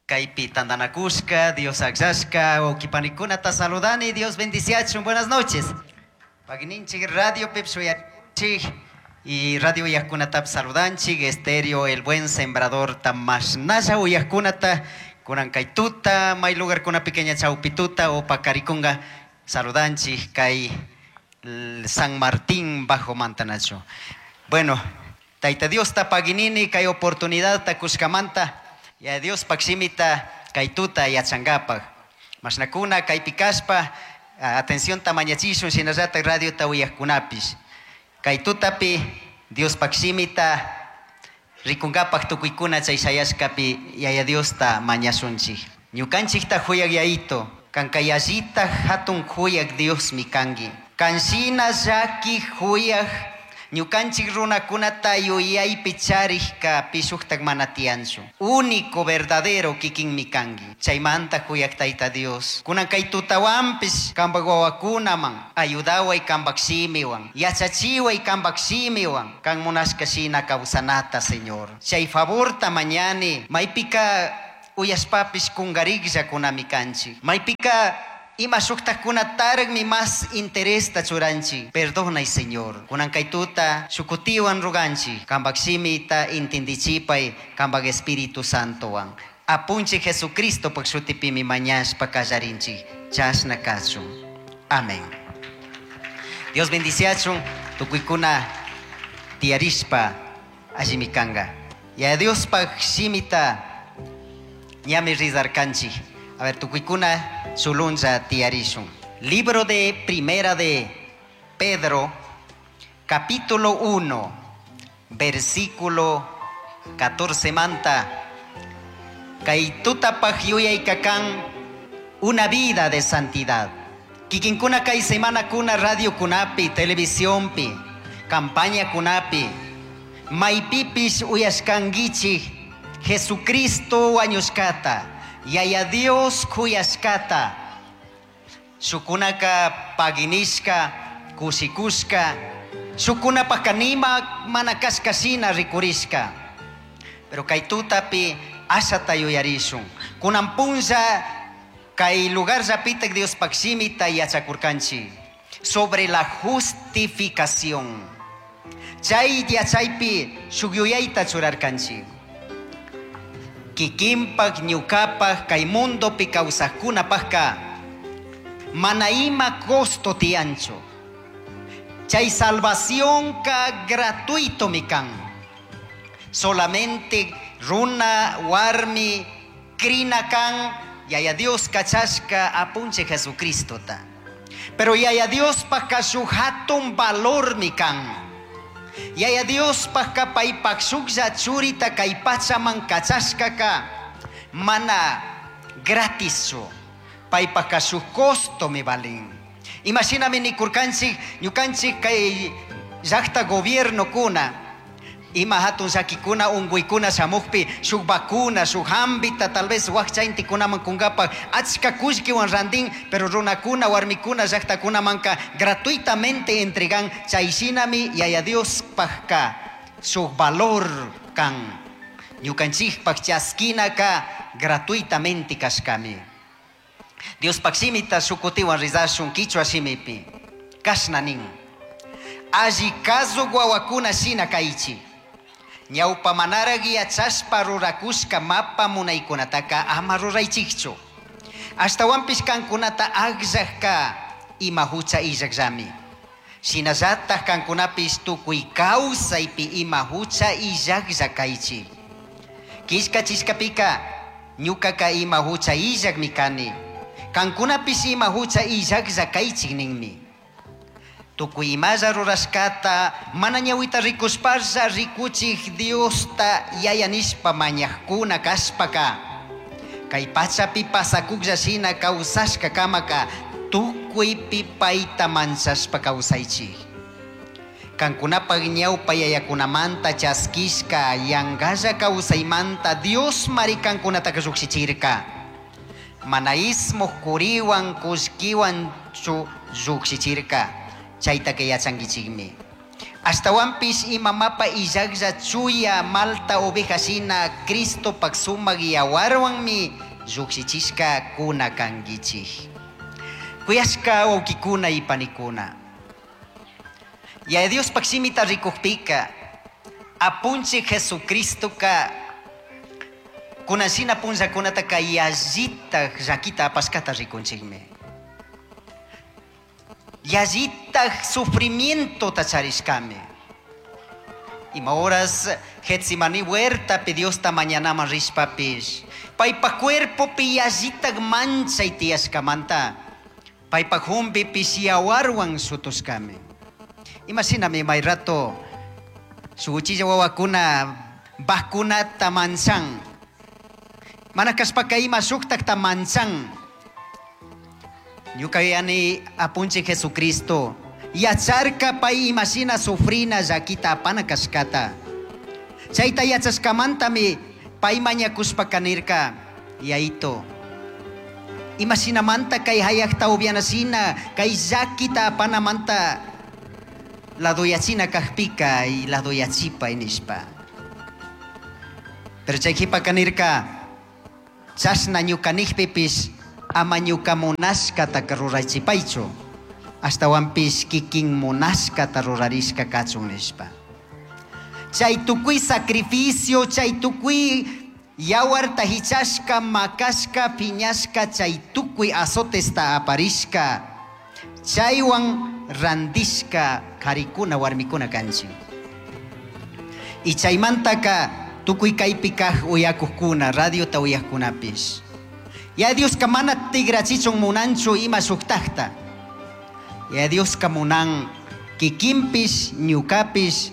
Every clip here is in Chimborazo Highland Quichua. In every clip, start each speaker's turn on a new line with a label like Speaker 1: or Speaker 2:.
Speaker 1: Kaypi tantanakushka, Dios akllashka, wawqipanicunata saludani, Dios bendiciachun. Buenas noches. Pagui ninchik radiopipish uyachik y radio uyajkunatapish saludanchik, Estéreo El Buen Sembradorta mashnalla uyajkunata, kunan kay tuta, may lugarkunapi ña chawpi tuta o pakarikunga saludanchik kay San Martín Bajo Mantanachu. Bueno, Tayta Diosta paguinini kay oportunidadta kushkamanta, Yaya Diospaj shimita kay tuta yachankapak. Mashnakuna kaypi kashpa, atencionta mañachishun shinallatak radiota uyajkunapish. Kay tutapi Diospaj shimita rikunkapak tukuykuna chay shayashkapi Yaya Diosta mañashunchik. Ñukanchikta huyak Yayito, kanka yallita hatun huyak Diosmi kanki. Kanshina llaki huyak ñukanchik runakunata yuyaypi charikka pishuktak mana tiyanchu. Único verdadero kikinmi kanki. Chaymanta huyak Tayta Dios. Kunan kay tutawanpish kanpak wawakunaman ayudaway kanpak shimiwan. Yachachiway kanpak shimiwan. Kan munashka shina kawsanata, Señor. Chay favorta mañani. Maypika uyashpapish kungarikllakunami kanchik. Maypika ima shuktakkunataraqmi mas interesta churanchik. Perdonay, Señor. Kunan kay tuta shukutiwan ruganchik. Kanpak shimita intindichipay kanpak Espíritu Santowan. Apunchik Jesucristopak shutipimi mañashpa kallarinchik. Chashna kachun. Amén. Dios bendiciachun tukuykuna tiyarishpa allimi kanka. Yaya Diospaj shimita ñami rizarkanchik. A ver, tukuykuna sulunlla tiyarishun. Libro de Primera de Pedro, capítulo 1, versículo 14 manta. Kay tutapaj yuyaykakan una vida de santidad. Kikinkuna kay semana kuna radio kunapi, televisionpi, campaña kunapi, maypipish uyashkankichik Jesucristo wañushkata, Yaya Dios kuyashkata, shukunaka paginishka, kushikushka, shukunapaka nima mana kashka shina rikurishka. Pero kay tutapi ashata yuyarishun. Kunan punlla kay lugar llapitak Diospaj shimita yachakurkanchik sobre la justificación. Chay yachaypi shuk yuyayta churarkanchik. Kikinpak ñukapak kay mundopi kawsaqkunapaqka mana ima costo tiyanchu. Chay salvación ka gratuito mi kan. Solamente runa warmi krina kan Yaya Dios kachashka apunchik Jesucristota. Pero Yaya Diospajka shuk hatun valor mi kan. Yaya Diospajka paypak shuklla churita kay pachaman kachashkaka mana gratischu. Paypajka shuk costo mi valin. Imashinami nikurkanchik ñukanchik kay llaqta gobierno kuna ima hatun llakikuna unkuykuna shamukpi shuk vacuna shuk hambita tal vez wakcha intikunaman kunkapaq achka kullkiwan rantin pero runakuna warmikuna llaqtakunamanka gratuitamente entregan chay shinami Yaya Diospajka shuk valor kan ñukanchikpaq chaskinaka gratuitamente kashkami. Diospaq shimita shukutiwan rizashun kichwa shimipi kashna nin alli kazuk wawakuna shina kaychik. Ñawpa manaraq yachashpa rurakushka mapa munaykunataka ama ruraychikchu. Ashtawanpish kankunata akllaqka ima hucha illaqllami. Shinallatak kankunapish tukuy kawsaypi ima hucha illaqlla kaychik. Killkachishkapika ñukaka ima hucha illaqmi kani. Kankunapish ima hucha illaqlla kaychik ninmi. Tukuy imalla rurashkata mana ñawita rikushpalla rikuchik Diosta yaya nishpa mañaqkuna kashpaka kay pachapi pasakuklla shina kawsashka kamaka tukuypi payta manchashpa kawsaychik. Kankunapaq ñawpa yayakunamanta chaskishka yankalla kawsaymanta Dios mari kankunataka llukshichirka. Mana ismuq kuriwan kullkiwanchu llukshichirka. Chaytaka yachankichikmi. Ashtahuanpish ima mapa illajlla chuya malta oveja shina Cristopaj sumaj yahuarhuanmi llujshichishcacuna canguichij. Cuyashca huauquicuna y panicuna. Yaya Diospaj shimita ricujpica, Apunchij Jesucristoca cunan shina punllacunataca yallitaj llaquita apashcata ricunchijmi. Yallitaj sufrimientota charishcami. Ima horas Getsemaní huertapi Diosta mañanaman rishpapish, paipaj cuerpopi yallitaj manchay tiyashcamanta, paipaj jumbipish yahuarhuan shutushcami. Ima shinami may rato shuk uchilla wawakuna vacunata manchan, mana kashpaka ima shuktakta manchan. Ñuka yuyani Apunchij Jesucristo yacharka pay imashina sufrina llaquita apana kashkata. Chayta yachashkamantami pay mañakushpaka nirka, Yaito, imashinamanta kay hayakta upianashina kay llaquita apanamanta ladoyachina kajpika y ladoyachipay nishpa. Pero chay qhipaka nirka, chashna ñuka nijpipish ama ñuka munashkataka rurachipaychu, ashtawanpish kikin munashkata rurarishka kachun nishpa. Chay tukuy sacrificio, chay tukuy yawarta hichashka, makashka, piñashka, chay tukuy azotesta aparishka, chaywan randishka karikuna warmikuna kanchik. Y chaymantaka tukuy kaypi kaj uyakujkuna, radiota uyajkunapish. Yaya Dioska mana tigrachichun munanchu ima shuktajta. Yaya Dioska munan kikinpish, ñukapish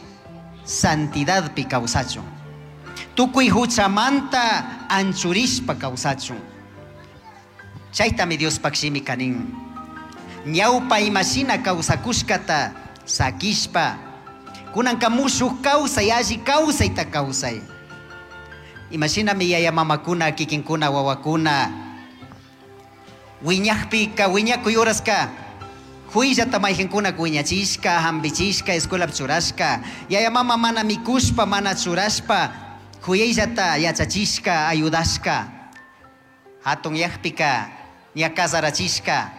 Speaker 1: santidadpi kawsachun. Tukuy huchamanta anchurishpa kawsachun. Chaytami Diospaj shimika nin. Ñawpa imashina kawsakushkata sakishpa, kunanka mushuk kawsay, alli kawsayta kawsay. Imashinami yaya mamakuna, kikinkuna, wawakuna, wiñajpika, wiñakuy horaska, huyllata mayqankuna wiñachishka, hampichishka, escuelapi churashka, yaya mama mana mikushpa, mana churashpa, huyayllata yachachishka, ayudashka, hatun yajpika, ña casarachishka.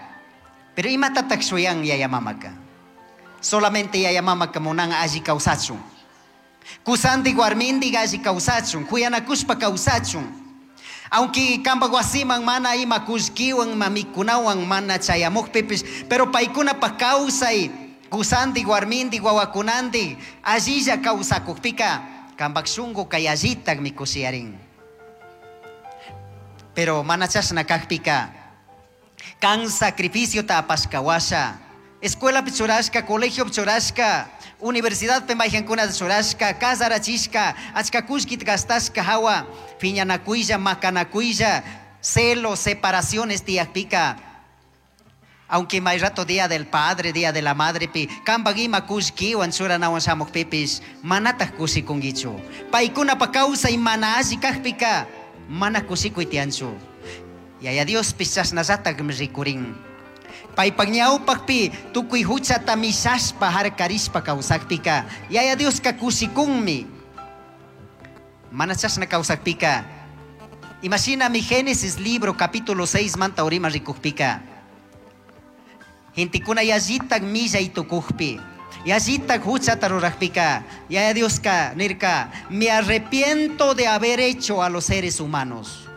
Speaker 1: Pero imatatak shuyan yaya mamaka? Solamente yaya mamaka munan alli kawsachun. Kusandik warmindik alli kawsachun, kuyanakushpa kawsachun. Aunque kampak wasiman mana ima kullkiwan, mamikunawan mana chayamukpipish, pero paykunapaj kawsay, kusandik warmindik wawakunandik allilla kawsakukpika, kampak shunkuka yallitakmi kushiyarin. Pero mana chashna kakpika, kan sacrificiota apashka washa, escuelapi churashka, colegiopi churashka, universidadpi mayqankunata churashka, casarachishka, achka kullkita gastashka hawa, piñanakuylla, makanakuylla, celos, separaciones tiyakpika, aunque may rato día del padre, día de la madre pi, kampak ima kullkiwan churanawan shamukpipish, manataj kushikunkichu. Paykunapa kawsay mana alli kakpika, mana kushikuy tiyanchu. Yaya Diospish chashnallatakmi rikurin. Paypak ñawpakpi tukuy huchata mishashpa harkarishpa kawsakpika, Yaya Dioska kushikunmi. Mana chashna kawsakpika, imashinami Génesis libro capítulo 6 manta urima rikukpika, gentekuna yallitak millay tukukpi, yallitak huchata rurakpika, Yaya Dioska nirka, me arrepiento de haber hecho a los seres humanos.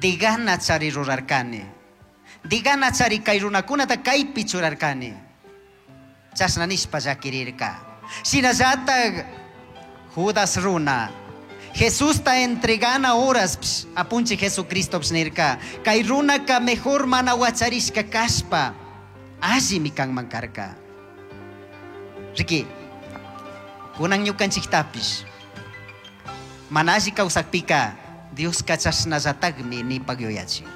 Speaker 1: Digana chari rurarkani. Digana chari kay runakunata kaypi churarkani. Chashna nishpa llakirirka. Shinallatak Judas runa, Jesusta entregana horas apunchij Jesucristo nirka, kay runaka mejor mana wacharishka kashpa, allimi kanman karka. Riki, kunan ñukanchiktapish, mana alli kawsakpika, Dioska chashnallatakmi nipak yuyachin.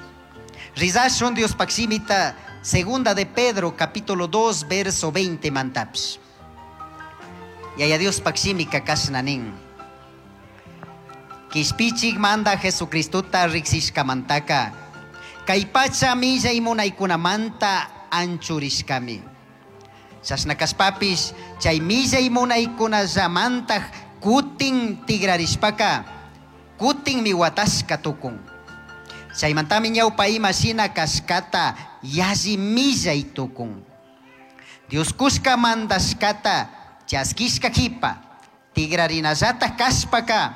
Speaker 1: Rizashun Diospaj shimita, segunda de Pedro, capítulo 2, verso 20 mantapish. Yaya Diospaj shimika kashna nin. Kishpichik manda Jesucristota riksishkamantaka, kay pacha millay munaykunamanta anchurishkami. Chashna kashpapish chay millay munaykunallamantaj kutin tigrarishpaka kutinmi watashka tukun. Chaymantami ñawpa ima shina kashkata yalli millay tukun. Dios kushka mandashkata chaskishka kipa tigrarinallataj kashpaka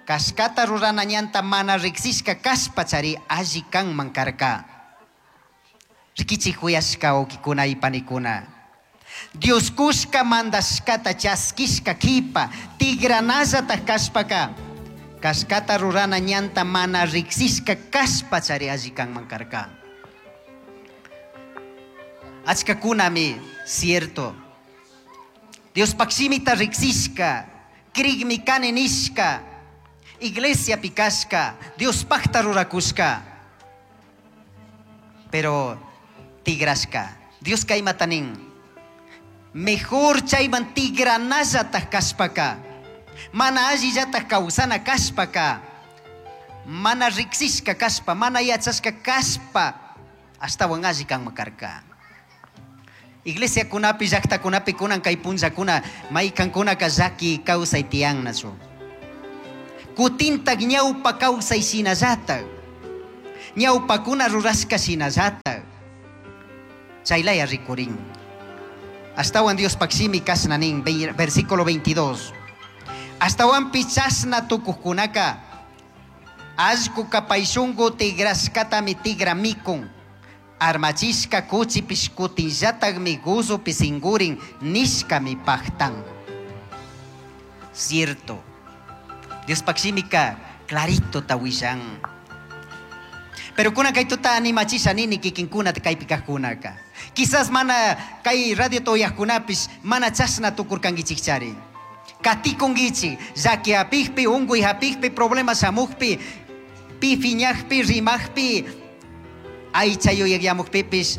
Speaker 1: kashkata rurana ñanta mana riksishka kashpa chari alli kanman karka. Rikichik kuyashka wawkikuna y panikuna. Dios kushka mandashkata chaskishka kipa tigranallataj kashpaka kashkata rurana ñanta mana riksishka kashpa chari alli kanman karka. Achkakunami cierto. Diospaj shimita riksishka, krikmi kani nishka, iglesiapi kashka, Diospajta rurakushka. Pero tigrashka. Dioska imata nin. Mejor chayman tigranallataj kashpaka, mana allillataj kawsana kashpaka, mana riksishka kashpa, mana yachashka kashpa, ashtawan alli kanman karka. Iglesiakunapi, llaktakunapi kunan kay punllakuna maykankunaka llaki kawsay tiyannachu. Kutintak ñawpa kawsay shinallatak, ñawpakuna rurashka shinallatak, chaylaya rikurin. Ashtawan Diospaj shimi kashna nin, versículo 22. Ashtawanpi chashna tukujkunaka allkuka pay shunku tigrashkatami tigra mikun. Armachishka kuchipish kutinllatakmi guzupi singurin nishkami pajtan. Cierto. Diospaj shimika clarito ta willan. Pero kunan kay tuta animachisha nini kikinkuna kaypi kajkunaka. Quizás mana kay radio uyajkunapish mana chashna tukurkankichikchari. Katikunkichik, llaki hapikpi, unkuy hapikpi, problema shamukpi, pi fiñakpi, rimajpi, aycha yuyayamukpipish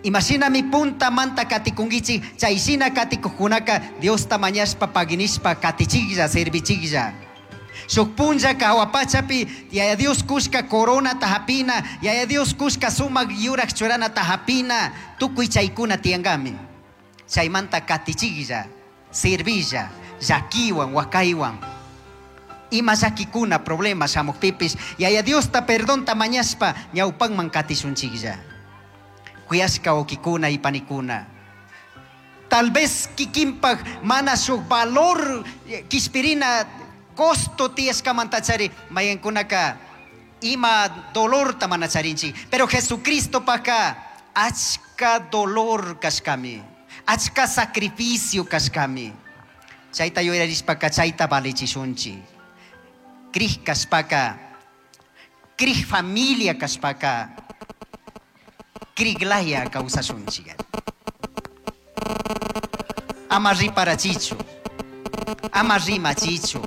Speaker 1: imashinami punta manta katikunkichik, chayshina katikujkunaka Diosta mañashpa paginishpa katichiklla, servichiklla. Shuk punllaka hawa pachapi Yaya Dios kushka coronata hapina, Yaya Dios kushka sumak yurak churanata hapina, tukuy chaykuna tiyankami. Chaymanta katichiklla, servilla, llakiwan, wakaywan. Ima llakikuna problema shamukpipish Yaya Diosta perdonta mañashpa ñawpanman katishunchiklla. Kuyashka wawkikuna y panikuna. Tal vez kikinpaj mana shuk valor kishpirina costo tiyashkamantachari mayankunaka ima dolorta mana charinchik. Pero Jesucristopajka achka dolor kashkami, achka sacrificio kashkami. Chayta yuyarishpaka chayta valichishunchik. Krij kashpaka, krij familia kashpaka, kriglaya kawsashunchik. Ama riparachichu, ama rimachichu.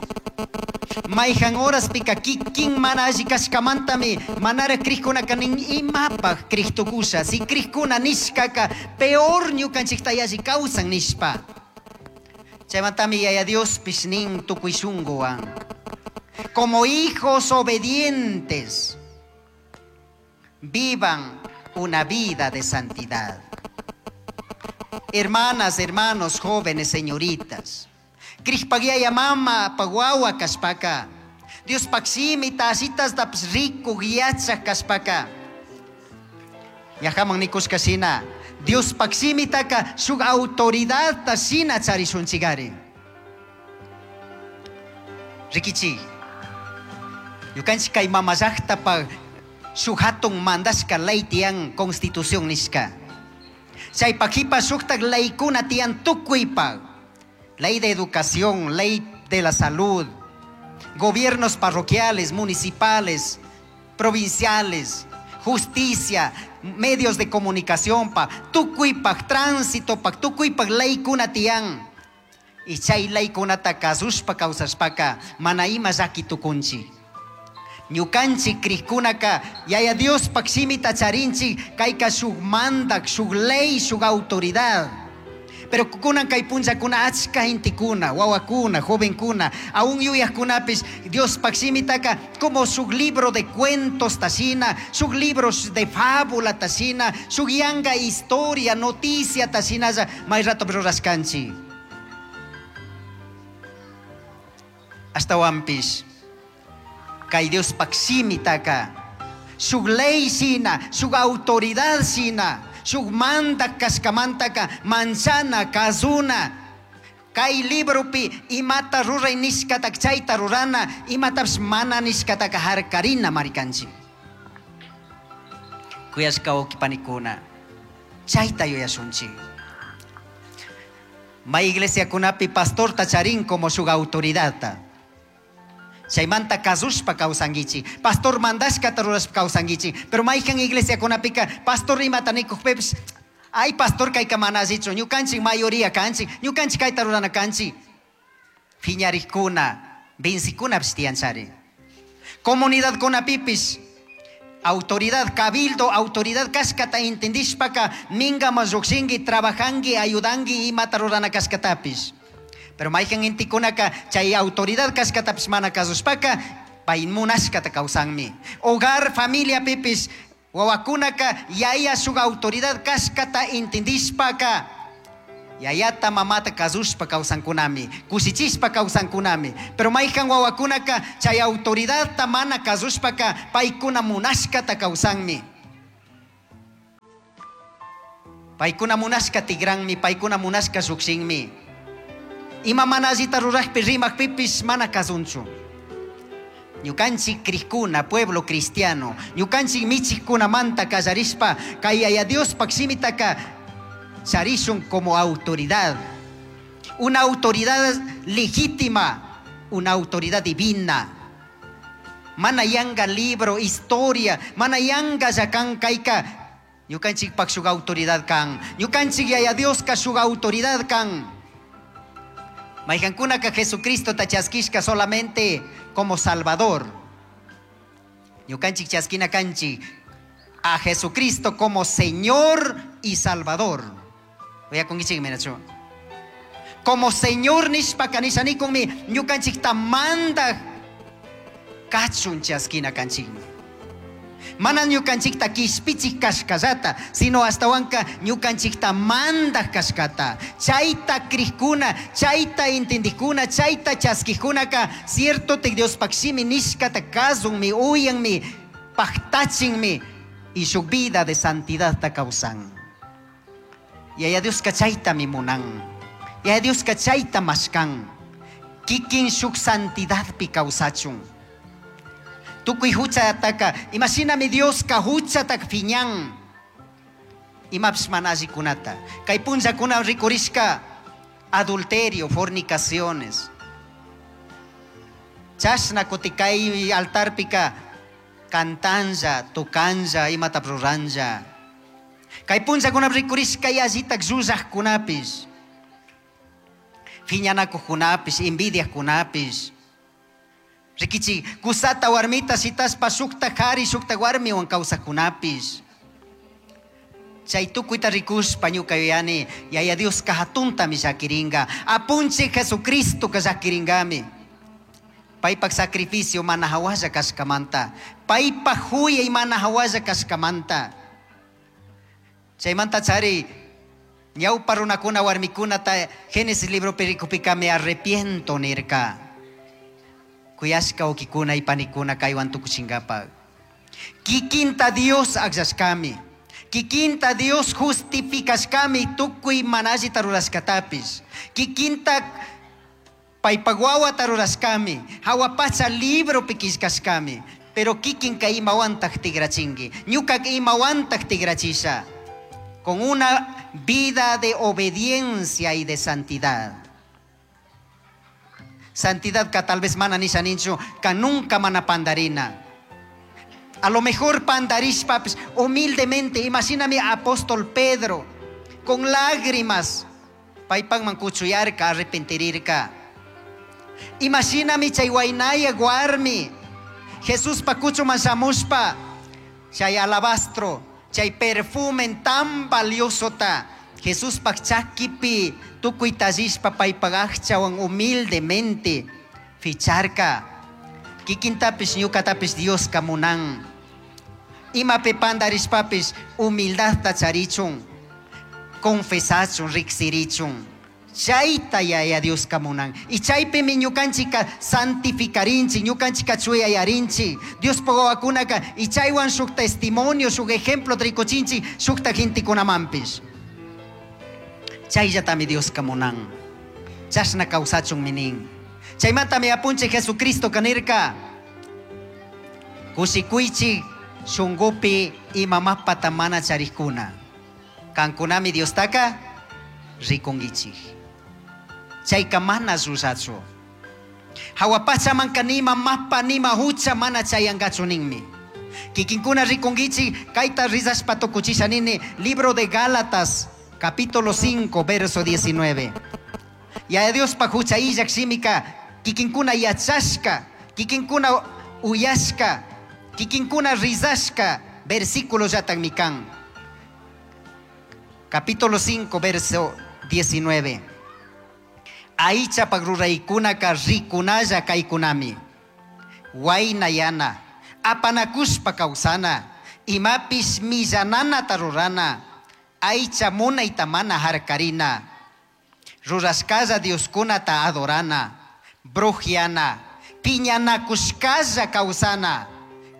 Speaker 1: Mayhan horaspika kikin mana alli kashkamantami manara krijkunaka nin imapaj krij tukusha. Si krijkuna nishkaka peor ñukanchikta yalli kawsan nishpa. Chaymantami Yaya Diospish nin tukuy shunkuwan. Como hijos obedientes, vivan una vida de santidad. Hermanas, hermanos, jóvenes, señoritas. Krijpaj yaya mama, paj wawa kashpaka. Diospaj shimita, ashitastapish rikuk yachaj kashpaka. Ñajaman nikushka shina, Diospaj shimitaka shuk autoridadta shina charishunchikari. Rikichik, ñukanchik kay mama llaktapaj shuk hatun mandashka ley tiyan constitución nishka. Chaypaj kipa shuktak leykuna tiyan tukuypaj. Ley de educación, ley de la salud, gobiernos parroquiales, municipales, provinciales, justicia, medios de comunicación pa, tukuypaj, tránsito pa, tukuypaj leykuna tiyan. Y chay leykunata kasushpa kawsashpaka mana ima llaki tukunchik. Ñukanchik krijkunaka Yaya Diospaj shimita charinchik, kayka shuk mandak, shuk ley, shuk autoridad. Pero kunan kay punllakuna achka gentekuna, wawakuna, jovenkuna, aún yuyajkunapis Diospaj shimitaka como shuk libro de cuentos tashina, shuk libros de fábula tashina, shuk yanga historia, noticia tashinalla may rato rurashkanchik. Ashtawanpish kay Diospaj shimitaka shuk ley shina, shuk autoridad shina, shuk mandak kashkamantaka manchana, kazuna. Kay libropi imata ruray nishkataka chayta rurana, imatapish mana nishkataka harkarina marikanchik. Kuyashka wawqi panikuna, chayta yuyashunchik. May iglesiakunapi pastorta charin como shuk autoridadta. Chaymanta kasushpa kawsankichik, pastor mandashkata rurashpa kawsankichik. Pero mayhan iglesiakunapika pastor imata nikukpipish, ay pastor kayka mana allichu, ñukanchik mayoría kanchik, ñukanchik kayta rurana kanchik. Phiñarikkuna, vencikunapish tiyanchari. Comunidadkunapipish autoridad, cabildo, autoridad kashkata entendishpaka mingaman llukshinki, trabajanki, ayudanki imata rurana kashkatapish. Pero mayhan gentekunaka chay autoridad kashkatapish mana kasushpaka pay munashkata kawsanmi. Hogar, familia pipish wawakunaka yaya shuk autoridad kashkata entendishpaka yayata mamata kasushpa kawsankunami, kushichishpa kawsankunami. Pero mayhan wawakunaka chay autoridadta mana kasushpaka paykuna munashkata kawsanmi. Paykuna munashka tigranmi, paykuna munashka llukshinmi. Ima mana allita rurajpi rimakpipish mana kasunchu. Ñukanchik crijkuna, pueblo cristiano, ñukanchik michikkunamanta kallarishpa kay Yaya Diospaj shimitaka charishun como autoridad. Una autoridad legítima, una autoridad divina. Mana yanga libro, historia, mana yanga kan kayka ñukanchikpak shuk autoridad kan. Ñukanchik Yaya Dioska shuk autoridad kan. Mayhankunaka Jesucristo ta chaskishka solamente como Salvador. Ñukanchik chaskina kanchik a Jesucristo como Señor y Salvador. Voy a conquichik minachu. Como Señor nishpaka nishanikunmi ñukanchikta mandaj kachun chaskina kanchikmi. Mana ñukanchikta kishpichik kashkallata, sino ashtawanka ñukanchikta mandaj kashkata. Chayta crijkuna, chayta entendijkuna, chayta chaskijkunaka, cierto te Diospaj shimi nishkata kasunmi, uyanmi, paktachinmi, y su vida de santidad ta kawsan. Yaya Dioska chaytami munan. Yaya Dioska chayta mashkan. Kikin shuk santidadpi kawsachun. Tukuy huchataka, imashinami Dioska huchataka phiñan. Imapish mana allikunata. Kay punllakuna rikurishka adulterio, fornicaciones. Chashna kuti kay altarpika cantanja, tocanja, imata ruranja. Kay punllakuna rikurishka yallitak llullajkunapish. Phiñanakuqkunapish, envidiajkunapish. Rikichi, kusata warmita shitaspa shukta qhari shukta warmiwan kawsajkunapish. Chay tukuyta rikushpa ñuka yuyani, Yaya Dioska hatuntami llakirinka. Apunchik Jesucristoka llakiringami. Paypak sacrificio mana hawalla kashkamanta. Paypak huyay mana hawalla kashkamanta. Chaymanta chari, ñawpa runakuna warmikunata Génesis libropi rikupika me arrepiento nirka. Kuyashka wawkikuna y panikuna kaywan tukuchinkapak. Kikinta Dios akllashkami. Kikinta Dios justificashkami tukuy mana allita rurashkatapish. Kikinta paypak wawata rurashkami. Hawa pacha libropi killkashkami. Pero kikinka imawantaj tigrachinki. Ñukaka imawantaj tigrachisha. Con una vida de obediencia y de santidad. Santidad ka tal vez mana nisha ninchu, ka nunca mana pandarina. A lo mejor pandarishpapis, humildemente, imagíname apóstol Pedro, con lágrimas, paypajman kuchuyarka, arrepentirirka. Imagíname chay waynaya warmi, Jesuspa kuchuman shamushpa, chay alabastro, chay perfume tan valiosota, Jesuspaj chakipi tukuy tallishpa paypaj aqchawan humildemente ficharka. Kikintapish ñukatapish Dioska munan. Imapi pandarishpapish humildadta charichun, confesachun, riksirichun. Chayta Yaya Dioska munan. Y chaypimi ñukanchika santificarinchik, ñukanchika chuyayarinchik. Diospaj wawakunaka y chaywan shuk testimonio, shuk ejemplo rikuchinchik shukta gentekunamanpish. Chayllatami Dioska munan. Chashna kawsachunmi nin. Chaymantami apunchik Jesucristoka nirka, kushikuychik shunkupi ima mapata mana charikuna. Kankunami Diostaka rikunkichik. Chayka mana llullachu. Hawa pachamanka nima mapa nima hucha mana chayankachu ninmi. Kikinkuna rikunkichik kayta rizashpa tukuchisha nini, libro de Gálatas, capítulo 5, verso 19. Yaya Diospaj hucha illak shimika kikinkuna yachashka, kikinkuna uyashka, kikinkuna rizashka, versículo llatakmi kan. Capítulo 5, verso 19. Aychapak ruraykunaka rikunalla kaykunami. Waynayana, apanakushpa kawsana, imapish millananata rurana, aycha munayta mana harkarina, rurashkalla Dioskunata adorana, brujiana, piñanakushkalla kawsana,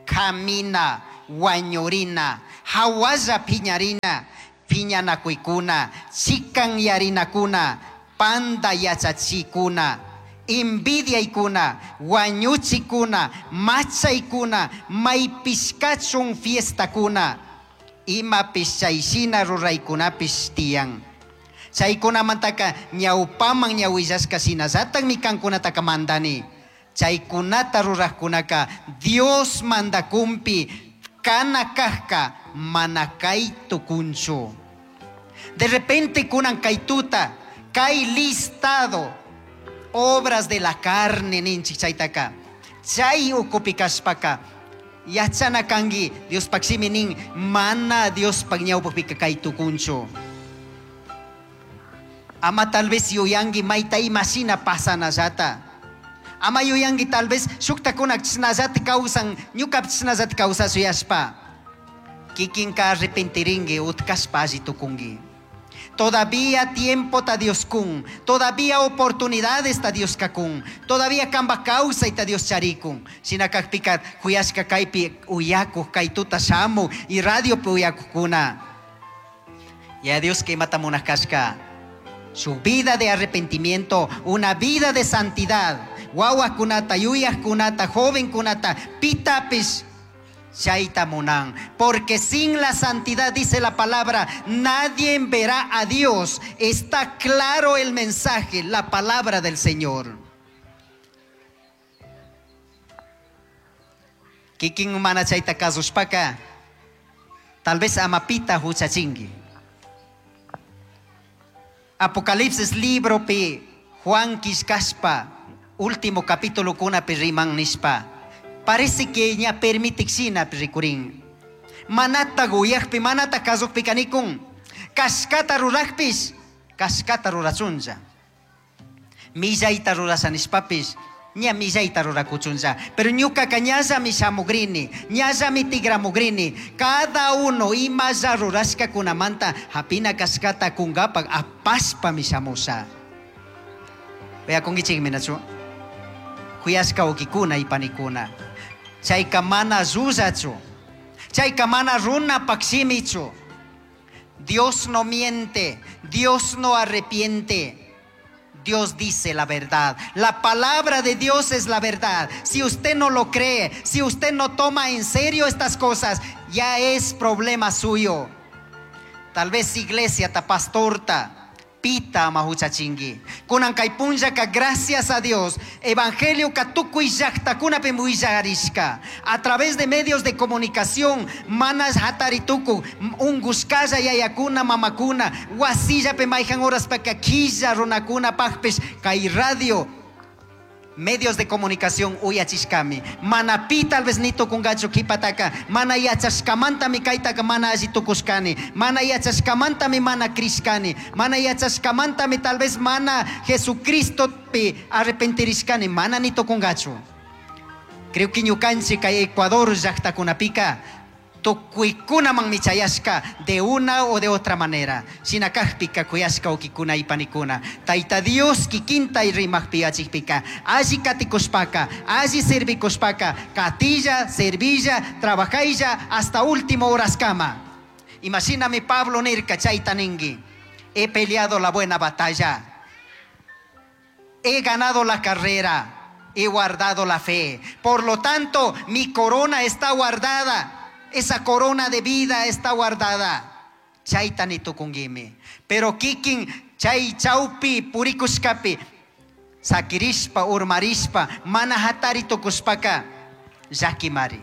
Speaker 1: kamina, wañurina, hawalla piñarina, piñanakuykuna, chikanyarinakuna, panda yachachikuna, envidiaykuna, wañuchikuna, machaykuna, maypishkachun fiestakuna, imapish chayshina ruraykunapish tiyan. Chaykunamantaka ñawpaman ñawillashka shinallatakmi kankunataka mandani. Chaykunata rurajkunaka Dios mandakunpi kana kajka mana kay tukunchu. De repente kunan kay tuta, kay listado obras de la carne ninchik chaytaka. Chay ukupi kashpaka yachana kanki Diospaj shimi nin mana Diospaj ñawpajpika kay tukunchu. Ama tal vez yuyanki mayta imashina pasanallata. Ama yuyanki tal vez shuktakuna chishnallata kawsan, ñukapish chishnallata kawsashuyashpa. Kikinka arrepentirinki utkashpa alli tukunki. Todavía tiempo ta Dios kun, todavía oportunidades ta Dios kakun, todavía kamba kawsayta Dios charikun. Shina kakpika kuyashka kaypi uyakuj kay tuta shamu y radiopi uyakujkuna. Ya Dios que imata munaj kashka. Su vida de arrepentimiento, una vida de santidad. Wawakunata, yuyajkunata, jovenkunata, pitapish chayta munan. Porque sin la santidad, dice la palabra, nadie verá a Dios. Está claro el mensaje, la palabra del Señor. Kikin mana chayta kasushpaka, tal vez amapita huchachinki. Apocalipsis libro pi Juan kishkashpa, último capítulo kunapi riman nishpa. Parece que ña permitikshina rikurin. Manata guyajpi, manata kasukpi kanikun. Kashkata rurajpish, kashkata rurachunlla. Millayta rurasha nishpapish, ña millayta rurakuchunlla. Pero ñukaka ñallami shamugrini, ñallami tigramugrini. Cada uno imalla rurashkakunamanta hapina kashkata kungapak apashpami shamusha. Uyakunkichikmi nachu? Kuyashka wawkikuna y panikuna. Chayka mana llullachu. Chayka mana runapak shimichu. Dios no miente, Dios no arrepiente. Dios dice la verdad. La palabra de Dios es la verdad. Si usted no lo cree, si usted no toma en serio estas cosas, ya es problema suyo. Tal vez iglesia ta pastorta, pita ama huchachinki. Kunan kay punllaka, gracias a Dios, evangelio ka tukuy llaqtakunapi willarishka. A través de medios de comunicación, manas hatarituku, ungushkalla yayakuna, mamakuna, wasillapi mayhan horas paka killa runakuna pajpish, kay radio, Medios de comunicación uyachishkami. Mana pi tal vez ni tukungachu kipataka. Mana yachashkamantami kaytaka mana alli tukushkani. Mana yachashkamantami mana crishkani. Mana yachashkamantami tal vez mana Jesucristopi arrepentirishkani. Mana ni tukungachu. Creo que ñukanchik kay Ecuador llaqtakunapika tukuykunamanmi chayashka de una o de otra manera. Shina kajpika kuyashka wawkikuna y panikuna. Tayta Dios kikinta rimajpi yachikpika alli katikushpaka, alli servikushpaka, katilla, servilla, trabajaylla hasta último horaskama. Imashinami Pablo nirka chayta ninki. He peleado la buena batalla. He ganado la carrera. He guardado la fe. Por lo tanto, mi corona está guardada. Esa corona de vida está guardada. Chayta ni tukunguimi. Pero kikin chay chaupi purikushkapi sakirishpa urmarishpa mana hatari tukushpaka llakimari.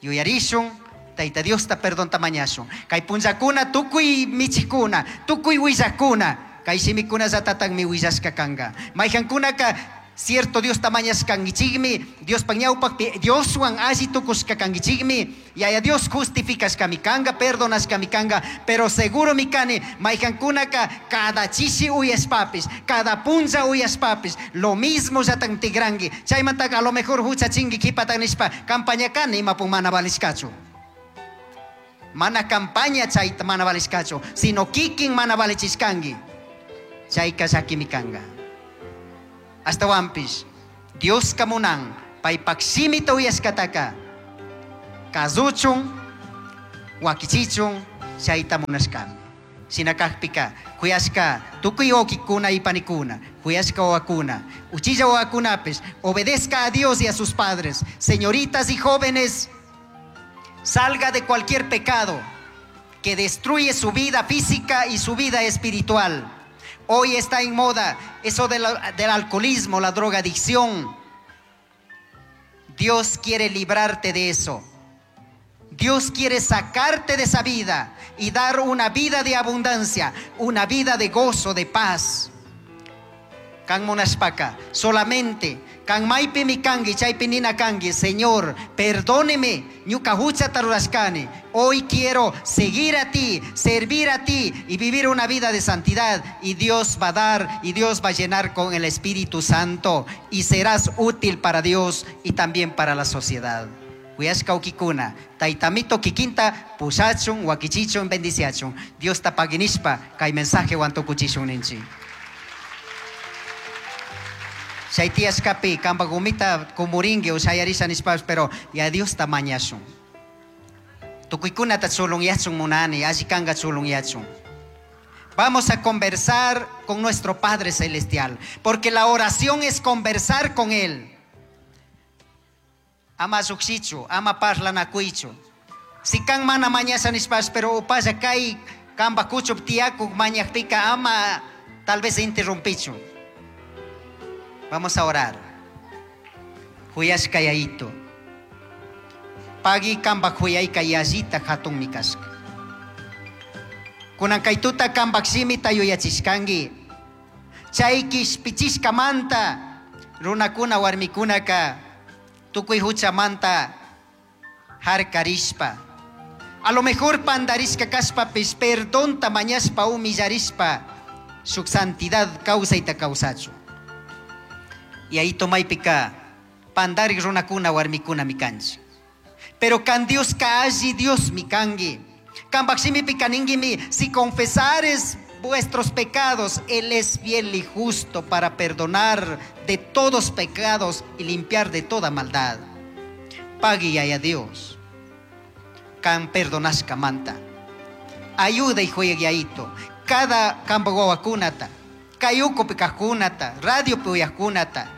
Speaker 1: Yuyarishun Tayta Diosta perdonta mañashun. Kay punllakuna tukuy michikuna, tukuy willakuna, kay shimikunallatataqmi willashka kanka. Mayqankunaka cierto Diosta mañashkankichikmi, Diospaq ñawpaqpi Dioswan alli tukushka kankichikmi, Yaya Dios justificashkami kanka, perdonashkami kanka, pero seguromi kani mayqankunaka cada chishi uyashpapis, cada punlla uyashpapis, lo mismo llatan tigranki. Chaymantaka a lo mejor huchachinki qhipata nishpa campaña kani imapun mana valishkachu. Mana campaña chayta mana valishkachu, sino kikin mana valichishkanki. Chayka llakimi kanka. Ashtawanpish Dioska munan paypak shimita uyashkataka kasuchun, wakichichun, chayta munashkami. Shina kakpika kuyashka tukuy wawkikuna y panikuna, kuyashka wawakuna, uchilla wawakunapis, obedezca a Dios y a sus padres. Señoritas y jóvenes, salga de cualquier pecado que destruye su vida física y su vida espiritual. Hoy está en moda eso del alcoholismo, la drogadicción. Dios quiere librarte de eso. Dios quiere sacarte de esa vida y dar una vida de abundancia, una vida de gozo, de paz. Kan munashpaka, solamente kan maypimi kanki, chaypi nina kanki, Señor, perdóneme, ñuka huchata rurashkani. Hoy quiero seguir a ti, servir a ti y vivir una vida de santidad. Y Dios va a dar y Dios va a llenar con el Espíritu Santo y serás útil para Dios y también para la sociedad. Kuyashka wawkikuna, taytamito kikinta pushachun, wakichichun, bendiciachun. Diosta pagui nishpa, kay mensajewan tukuchishun ninchik. Chay tiyashkapi kanpak umita kumurinki o shayarisha nishpapish, pero ya Diosta mañashun. Tukuykunata chulunyachun munani, alli kanka chulunyachun. Vamos a conversar con nuestro Padre Celestial, porque la oración es conversar con Él. Ama llukshichu, ama parlanakuychu. Si kan mana mañasha nishpash, pero upalla kay kanpak kuchup tiyakuk mañakpika ama tal vez interrumpichu. Vamos a orar. Juyashka Yayito. Pagui kanpak juyayka yallita hatunmi kashka. Kunan kay tuta kanpak shimita yuyachishkanki. Chay kishpichishkamanta runakuna warmikunaka tukuy huchamanta harkarishpa. A lo mejor pandarishka kashpapis perdonta mañashpa humillarishpa shuk santidad kawsayta kawsachu. Y ahí tomaypika pandarik runakuna warmikuna mi kanchik. Pero kan Dioska alli Dios mi kanki. Kanpak shimipika ninkimi, si confesares vuestros pecados, Él es fiel y justo para perdonar de todos pecados y limpiar de toda maldad. Pagui Yaya Dios. Kan perdonashkamanta. Ayuda y jueguiaito. Cada kanpak wawakunata, kay ukupi kajkunata, radiopi uyajkunata.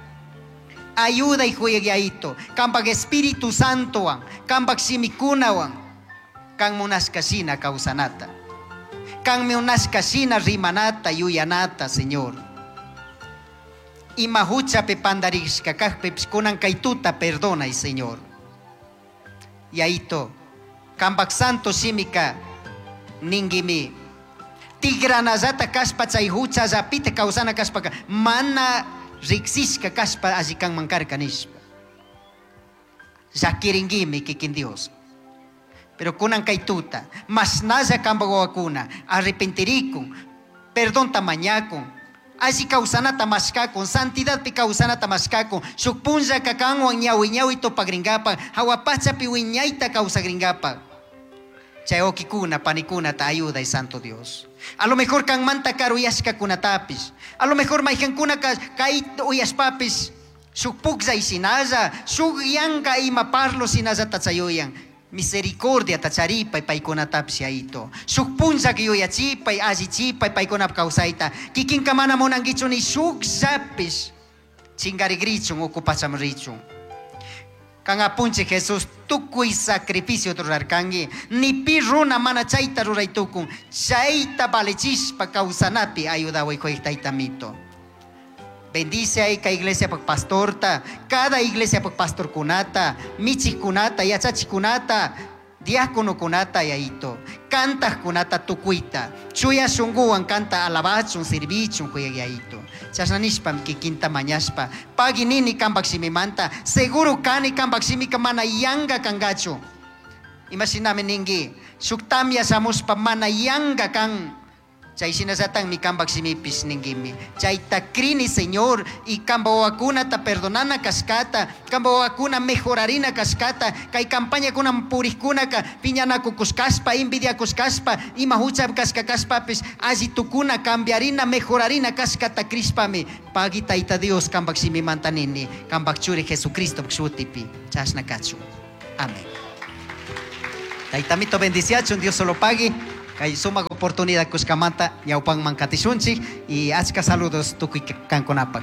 Speaker 1: Ayuda y jueguiaito. Kanpak Espíritu Santowan, kanpak shimikunawan, kan munashka shina kawsanata. Kan munashka shina rimanata, yuyanata, Señor. Ima huchapi pandarishka kajpipish kunan kay tuta perdonay, Señor. Yayito, kanpak santo shimika ninkimi. Tigranallata kashpa chay huchallapita kawsana kashpaka mana Riksishka kashpa alli kanman karka nishpa. Llakiringuimi kikin Dios. Pero kunan kay tuta, mashnalla kanpak wawakuna, arrepentirikun, perdonta mañakun, alli kawsanata mashkakun, santidadpi kawsanata mashkakun, shuk punllaka kanwan ñawi ñawi tupakrinkapak, hawa pachapi wiñayta kawsakrinkapak. Chay wawkikuna, panikunata ayuday, Santo Dios. A lo mejor kanmanta karuyashkakunatapish, a lo mejor maykankunaka kay uyashpapish, shuk pukllay shinalla, shuk yanka ima parlo shinallata chayuyan. Misericordiata charipay paykunatapish Yayito. Shuk punllaka yuyachipay, allichipay paykunap kawsayta. Kikinka mana munankichu ni shukllapish chingarigrichun, uku pachaman richun. Kan apunchik Jesús tukuy sacrificio rurarkanki, ni pi runa mana chayta ruray tukun, chayta valichishpa kawsanapi ayudaway kuyaq taytamito. Bendice ahí ka iglesia pak pastorta, cada iglesia pak pastorkunata, michikkunata, yachachikkunata, diáconokunata yayito, kantajkunata tukuyta, chuya shunguwan kanta alabachun, sirvichun kuyaq yayito. Chashna nishpami kikinta mañashpa, pagui nini kanpak shimimanta, seguro kani kanpak shimika mana yanka kankachu. Imashinami ninki, shuk tamya shamushpa mana yanka kan, chay shinallatakmi kanpak shimipish ninkimi. Chayta crini, Señor, y kanpak wawakunata perdonana kashkata, kanpak wawakuna mejorarina kashkata, kay campañakuna purikkunaka piñanakukushkashpa, envidiakushkashpa, ima hucha kashka kashpapish alli tukuna, cambiarina, mejorarina kashkata crishpami, pagui Tayta Dios kanpak shimimanta nini, kanpak churi Jesucristo shutipi, chashna kachun. Amén. Taytamito bendiciachun, Dios solo pague. Kay sumak oportunidad kushkamanta ñawpanman katishunchik y achka saludos tukuy kankunapaq.